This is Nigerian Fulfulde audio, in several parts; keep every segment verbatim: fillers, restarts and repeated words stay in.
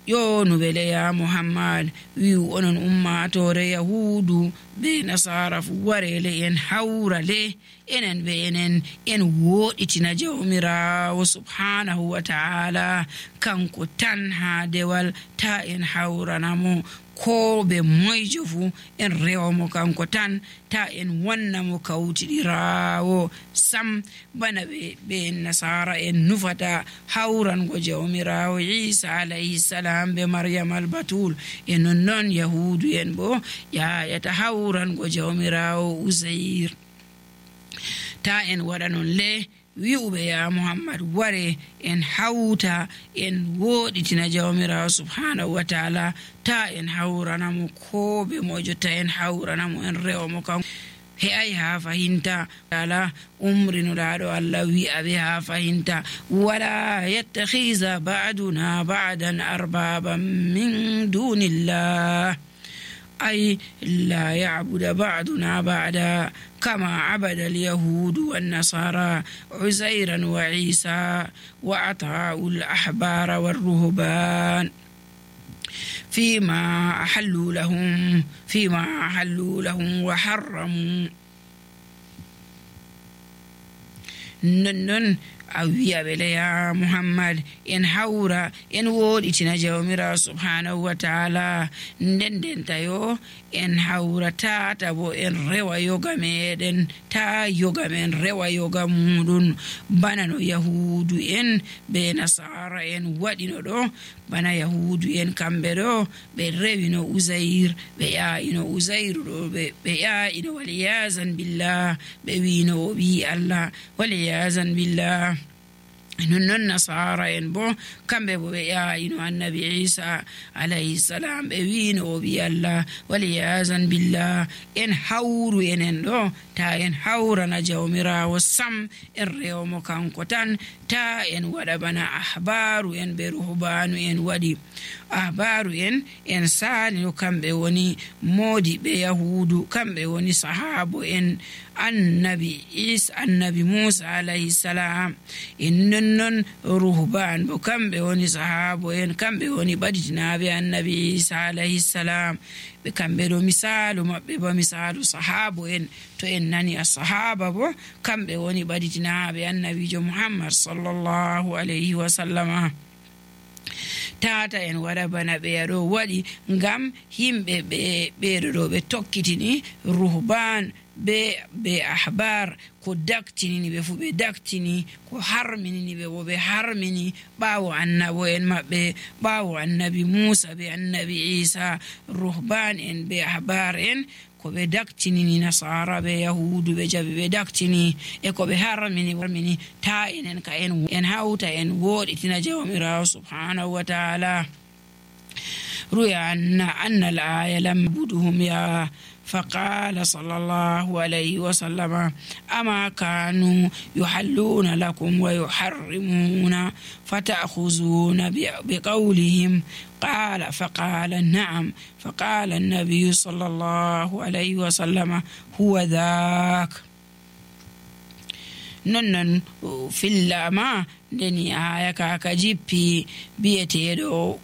ƴonuɓele ya muhammad wi'u onon ummatore yahudu be nasara fu warele en hawrale enen be enen en woɗitina jawmirawo subhanahu wa ta'ala kanko tan ha dewal ta en hawranamo ko be moyjo fu en rewamo kanko tan ta en wannamo kawtiɗirawo sam bana ɓe ɓe nasara en nufata hawrango jawmirawo isa alayhi salam be maryam albatul e nonnon yahudu en bo yayata hawrango jawmirawo usair ta en waɗa non le wi'uɓe ya muhammad ware en hawta en woɗitina jawmirawo subhanahu wa ta'ala ta en hawranamo ko be mojo ta en hawranamo en rewamo kan he ay ha fahinta ala umrinuɗaɗo allah wi'a ɓe ha fahinta wala yattakhiza ba'duna ba'dan arbaban min dunillah أي لا يعبد بعضنا بعدا كما عبد اليهود والنصارى عزيرا وعيسى وأطاعوا الأحبار والرهبان فيما أحلوا لهم فيما أحلوا لهم وحرموا نن a wi'aɓele ya muhammad en hawra en woɗitina jawmirawo subhanahu wa ta'ala nden nden tayo en hawra tata bo en rewa yoga meɗen ta yoga men rewa yoga muɗum bana no yahudu en be nasara en waɗino ɗo bana yahudu en kamɓe ɗo ɓe rewino usair ɓe ya'ino usairu ɗo ɓe ya'ino waliyazan billah ɓe wino o ɓi allah waliyazan billah nonnon nasara en bo kamɓe bo ɓe ya'ino annabi isa alayhi salam ɓe wino o ɓi allah waliyazan billah en hawru enen ɗo ta en hawrana jawmirawo sam en rewmo kanko tan ta en waɗa bana ahbaru en ɓe ruhbanu en waɗi ahbaru en en salino kamɓe woni moodi ɓe yahudu kamɓe woni sahabo en annabi isa annabi musa alayhi salam en nonnon ruhban bo kamɓe woni sahabo en kamɓe woni ɓaditinaɓe annabi isa alayhi salam ɓe kamɓe ɗo misalu maɓɓe ba misalu sahabo en to en nani a sahaba bo kamɓe woni ɓaditinaɓe annabijo muhammad sallallahu alayhi wa sallama tata en waɗa bana ɓe ɗo waɗi ngam yimɓe ɓe ɓeɗo ɗo ɓe tokkitini ruhban be be ahbar ko daktinini ɓe fu ɓe daktini ko harminini ɓe bo ɓe harmini ɓawo annabo en maɓɓe ɓawo annabi musa be annabi isa ruhban en be ahbar en ko ɓe daktinini nasara ɓe yahudu ɓe jaɓi ɓe daktini e ko ɓe harmini harmini ta enen ka en en hawta en woɗitina jawmirawo subhanahu wa ta'ala ruya anna anna al aya lam buduhum ya فقال صلى الله عليه وسلم أما كانوا يحلون لكم ويحرمون فتأخذون بقولهم قال فقال نعم فقال النبي صلى الله عليه وسلم هو ذاك ننن في اللama ndeni aya kaka jippi biyeteɗo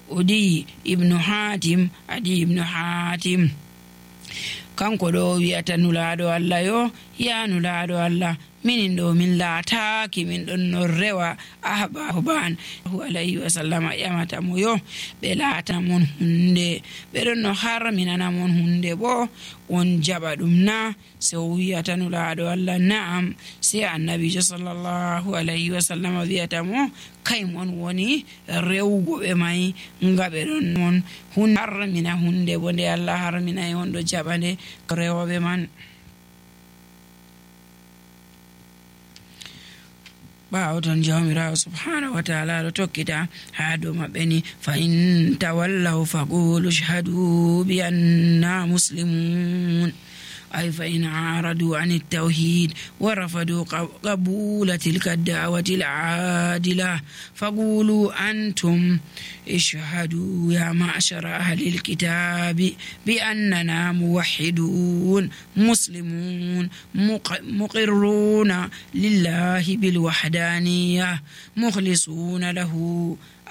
udi ibnu hatim adi ibnu hatim kanko ɗo wi'ata nulaɗo allah yo ya nulaɗo allah minin ɗo min laataki min ɗon no rewa ahbaban alayhi wa sallam ƴamata mo yo ɓe laata mon hunde ɓe ɗon no harminana mon hunde bo on jaɓa ɗum na se o wiyata nulaɗo allah na'am se annabijo sallallahu alayhi wa sallam wiyata mo kay mon woni rewgo ɓe may nga ɓe ɗon mon hun harmina hunde bo nde allah harmina e on ɗo jaɓa nde rewoɓe man ɓawo ton jawmirawo subhanahu wa ta'ala ɗo tokkita ha dow maɓɓe ni fa in tawallaw faqulu ashhadu bi anna muslimun أي فإن عارضوا عن التوحيد ورفضوا قبول تلك الدعوة العادلة فقولوا أنتم اشهدوا يا معشر أهل الكتاب بأننا موحدون مسلمون مقرون لله بالوحدانية مخلصون له